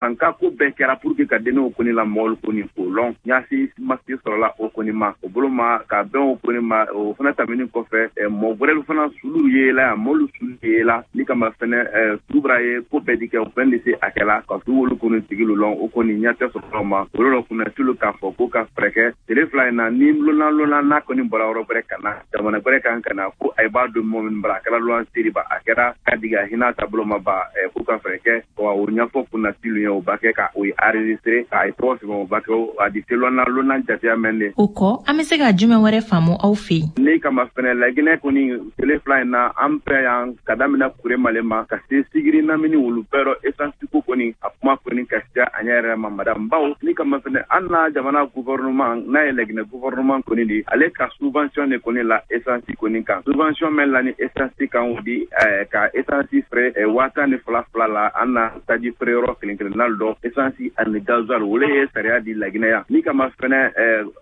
An ka ko bɛɛ kɛra pour que ka donnéew kɔni la mɔgɔlu kɔni k'o lɔn ɲasi masi sɔrɔla o kɔni ma o bolo ma ka bɛn o kɔni ma. O fana tɛmɛnin kɔfɛ, mɔgɔ wɛrɛlu fana sulu yela yan, mɔlu sulu yela ni kama fɛnɛ sulu ye ko bɛɛ di kɛ, o fɛn de se a kɛla ka su wolu kɔni tigilu lɔn. O kɔni ɲɛ tɛ sɔrɔ ma olu la kunnasilu k'a fɔ ko ka fɛɛrɛ kɛ tele 2 in na, ni lona lona n'a kɔni bɔra yɔrɔ wɛrɛ ka na jamana wɛrɛ kan ka na, ko a b'a don mɔgɔ min bara, a kɛra luwanse ba, a kɛra ka digi a hinɛ taabolo ma ba, ko ka fɛɛrɛ kɛ wa o ɲɛfɔ kunnasilu ye, o ba kɛ ka o enregistré, k'a ye tɔgɔ sɛbɛn, o ba kɛ a di se lɔnna lonna jateya mɛn de. O kɔ, an bɛ se ka jumɛn wɛrɛ faamu aw fɛ yen? Ne kama fɛnɛ, Laginɛ kɔni tele 2 in na, an fɛ yan, ka daminɛ Kuremale ma ka se Sigiri namini, wolu bɛɛ rɔ, essence ko kɔni a kuma kɔni ka siya a ɲɛ yɛrɛ ma, madame. Bawo ni kama fɛnɛ, an na jamana gouvernement n'a ye Laginɛ gouvernement kɔni di, ale ka subvention de kɔni la essence kɔni kan, subvention mɛn la ni essence kan, o di ka essence feere 12,000 fila la an na taji feere yɔrɔ kelen kelenna dɔ, essence ani gasoil. Wole ye sariya di Laginɛ yan. Ni kama fɛnɛ,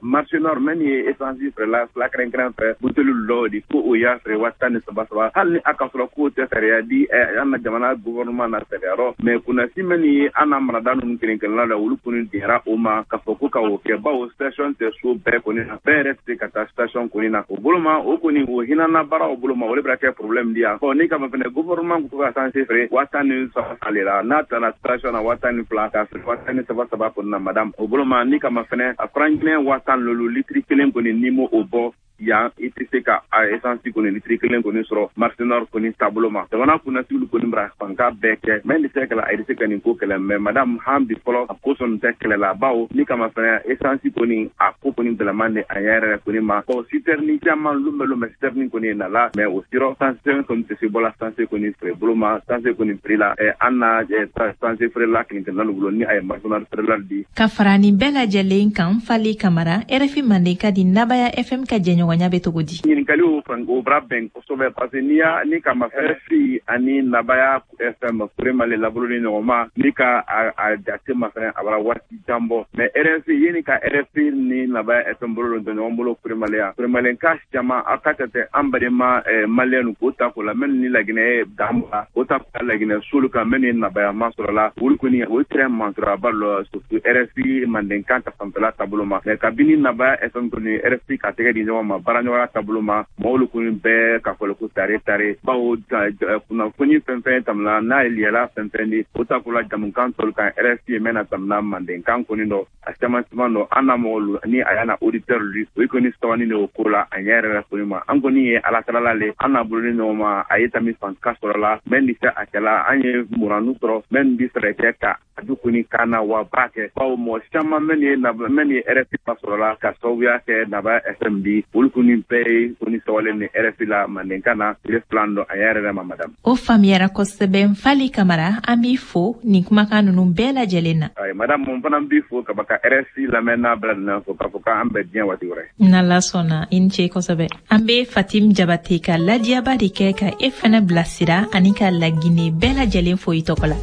marché nord mɛn ye essence feerela fila kɛrɛnkɛrɛn fɛ buteli dɔw di, ko o y'a feere 13,000 saba, hali ni a ka sɔrɔ k'o tɛ sariya di an na jamana gouvernement na sariya rɔ. Mais kunnasi mɛn ye an na marada ninnu kelen kelenna la, olu kɔni diyara o ma k'a fɔ ko ka o kɛ, bawo station tɛ so bɛɛ kɔni na, bɛɛ yɛrɛ tɛ se ka taa station kɔni na. O bolo ma, o kɔni o hinɛna baara o bolo ma, o de bɛna kɛ problème di yan. Ɔ ni kama fɛnɛ, gouvernement ko ka essence feere 13,000 ale la, n'a taara station na 12,000, k'a feere 13,000 saba kɔni na, madame. O bolo ma, ni kama fɛnɛ, a franc guinéen 15 litiri kelen kɔni, n'i m'o o bɔ yan, i tɛ se ka a essence kɔni litiri kelen kɔni sɔrɔ marché nord kɔni taabolo ma. Jamana kunnasigiw kɔni bara fanka bɛɛ kɛ mɛ ni se kɛlɛ, a bɛ se ka nin ko kɛlɛ. Mais madame, han bi fɔlɔ a ko sɔn tɛ kɛlɛ la, bawo ni kama fɛnɛ, essence kɔni a ko kɔni gɛlɛman de a ɲɛ yɛrɛ kɔni ma. Ɔ citerne caman lon bɛ lon bɛ citerne kɔni nala, mais o sirɔ essence kɔni tɛ se bɔla essence kɔni feere bolo ma, essence kɔni prix la an na essence feerela kelen kelenna bolo ni a ye marché nord feerela di. Ka fara nin bɛɛ lajɛlen kan, Fali Kamara, RFI Mandenkan di Nabaya FM ka jɛɲɔgɔnya bɛ cogo di? Ɲininkali o fan o bara bɛn kosɛbɛ, parce que n'i y'a ni kama RFI ani Nabaya FM Kuremale laboloni ɲɔgɔn ma, ni ka a jate ma fɛnɛ, a bara waati jan bɔ. Mais RFI yeni ka RFI ni Nabaya FM bolo don ɲɔgɔn bolo Kuremale yan, Kuremale ka caman a ka tɛ an badenma maliyɛn k'o ta k'o la mɛ ni Laginɛ ye dan o ta k'o Laginɛ solu kan mɛ ni Nabaya ma sɔrɔ la, olu kɔni o tɛrɛ manturaba lɔ, surtout RFI mandenkan ta fanfɛla taabolo ma. Mais kabini Nabaya FM kɔni RFI ka tɛgɛ di ɲɔgɔn ma baaraɲɔgɔnya taabolo ma, mɔgɔw kɔni bɛɛ ka fɔlɔ ko tare tare, bawo kunnafoni fɛn fɛn tamina n'a ye liyala fɛn fɛn di, o ta ko la jamukan tɔlu kan RFI ye mɛn na tamina mandenkan kɔni dɔ a caman caman dɔ, an na mɔgɔlu ni a y'a na auditeur lu, o kɔni sabani de o ko la a ɲɛ yɛrɛ kɔni ma. An kɔni ye Ala talala le an n'a bolo ni ɲɔgɔn ma, a ye tami fan ka sɔrɔ la mɛ ni se a kɛla an ye muranu sɔrɔ mɛ bi fɛɛrɛ kɛ ka a du kɔni kan na wa b'a kɛ, bawo mɔgɔ caman mɛ ni RFI ma sɔrɔ la ka sababuya kɛ Nabaya FM bi, olu kɔni bɛɛ ye kɔni sawalen ni RFI la mandenkan na tile 2 dɔ a ɲɛ yɛrɛ ma, madame. O faamuyara kosɛbɛ. Fali Kamara, an b'i fo nin kumakan ninnu bɛɛ lajɛlen na. Ayi madame, mun fana b'i fo ka ka RFI lamɛn n'a bɛɛ lajɛlen fo k'a fɔ k'an bɛn diɲɛ waati wɛrɛ. N'Ala sɔnna, i ni ce kosɛbɛ. An be Fatim Jabate ka ladiyaba de kɛ ka e fɛnɛ bilasira ani ka Lagine bɛɛ lajɛlen fo i tɔgɔ la.